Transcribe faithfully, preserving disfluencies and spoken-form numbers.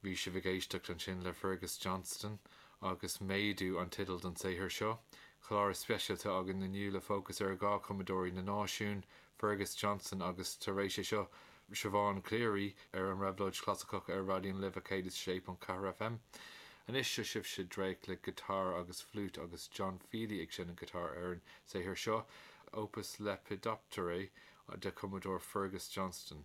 Bhí sibh ag éisteacht ansin le Fergus Johnston agus méadú an teideal don saothar seo. Clár speisialta againn inniu le fócas ar dhá chumadóirí na náisiún, Fergus Johnston agus tar éis é seo Siobhán Cleary ar an Réabhlóid Chlasaiceach ar Raidió na Life céad is sé ponc ceathair FM. Anois seo sibhse dréacht le giotár agus fliút agus John Feely ag seinm giotár ar an saothar seo, Opus Lepidopterae de chumadóir Fergus Johnston.